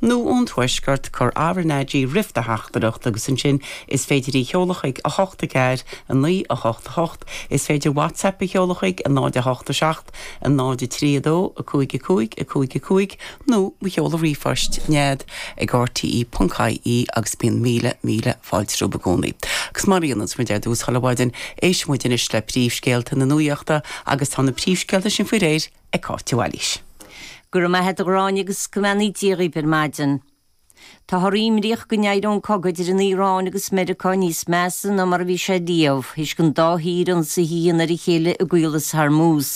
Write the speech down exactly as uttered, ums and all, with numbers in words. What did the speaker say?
nó ón tuaisceart cuir RnaG roimh do theachtaireacht agus ansin is féidir í a sheoladh chuig a hocht a ceathair a naoi a hocht a hocht is féidir WhatsApp a sheoladh chuig a náid a hocht a seacht a náid a trí a dó a cúig a cúig a cúig a cúig nó mo sheoladh ríomhphoist nead ag RTE.ie agus bíonn míle míle fáilte romhaibh i gcónaí. Agus mar a muid ar dtús chuile mhaidin éistfidh muid anois le príomhscéalta na nuachta agus tá na príomhscéalta sin faoi réir ag Cáit Bhailís. Gur maithe a Ghráinne agus go mbeannaí Dia dhaoibh ar maidin. Táthar imníoch go n-éireoidh an cogadh idir an Iaráin agus Meiriceá níos measa ná mar a bhí sé riamh, théis don dá thír ionsaithe a dhéanamh ar a chéile i gCaolas Hormuz.